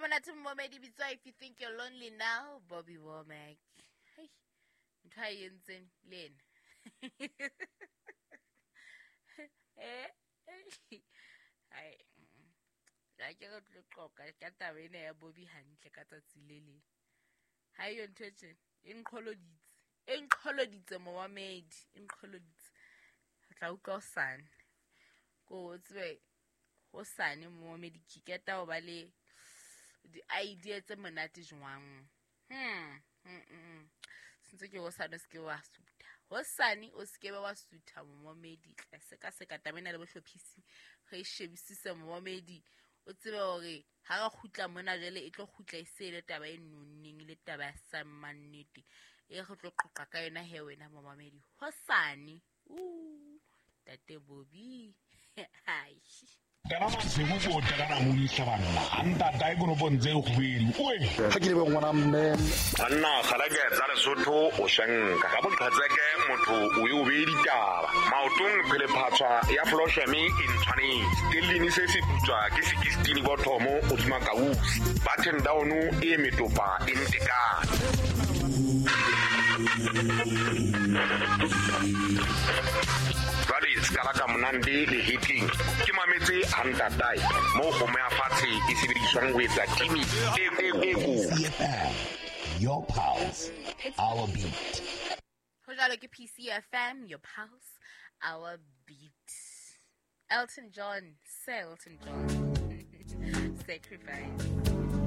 Monate momedi bitswa If You Think You're Lonely Now, Bobby Womack. Hei, ntho a e entseng le ena. Eh, hai, ga ke re tlo qoqa ka taba ena ya Bobby hantle ka tsatsi le leng. Ha eyo ntho e tjena, e nqholoditse. E nqholoditse momamedi, e nqholoditse. Re tla utlwa hosane. Ko o tsebe hosane momamedi ke qeta ho ba le di-idea tse monate jwang. Sentse ke hosane o seke wa sutha. Hosane o seke wa sutha momamedi. Tla sekaseka taba ena le bohlophisi. Re e shebisise momamedi. O tsebe hore ha re kgutla mona jwale e tlo kgutla e se le taba e nonneng, le taba ya sa mannete. E re tlo qoqa ka yona he wena momamedi. Hosane. Tate Bobby. Hai. Kana masigo ko tla kana mo dihlabanna a ntata e konopong tse kgwedi oe ga ke lebe ngwana mme banna kgalake tsa Lesotho o shenka ka boqhetseke motho o e o beye ditaba maotong phelephatshwa ya flosheme e ntshwanetse stellini se se putswa ke sekistini bothomo godima kausi button down e metopa e ntekane jwale se ka la ka monande le heating ke mametse a ntatae moo kgomo ya fatshe e sebediswang ho etsa timi e e PCFM, your pulse, our beat. Ho jwalo ke PCFM, your pulse, our beat. Elton John, Sir Elton John. Sacrifice.